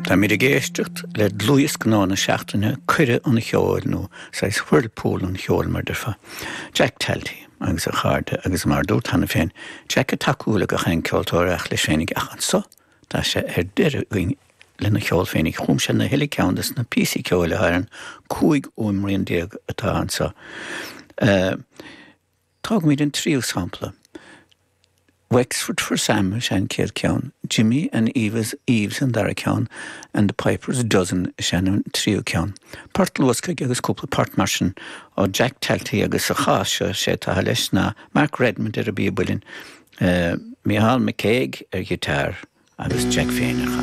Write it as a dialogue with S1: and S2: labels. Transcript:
S1: Táimid ag éisteacht le dlúthdhiosca nua na seachtaine, Cuireadh an Cheoil, nó saghas whirlpool an cheoil mar déarfá. Jack Talty agus a chairde agus mar a dúrt cheana féin, Jack ag tacú le gach aon ceoltóir ach leis féinig ach anso tá sé ar deireadh againn lena cheol féinig. Chum sé na huile ceann des na píosaí ceoil atá ar an 15 fhuaimrian atá anso. Tógfaimid an tríú sampla. Wexford for Sam is ea an chéad ceann, Jimmy and Eva's Eves an dara ceann and The Piper's Dozen is ea an tríú ceann. Port luasctha agus cúpla port mar sin ó Jack Talty agus sa chás seo sé atá leis ná Mark Redmond ar an bpíob uilleann, Micheál McCague ar ghiotár agus Jack féin ar chansail.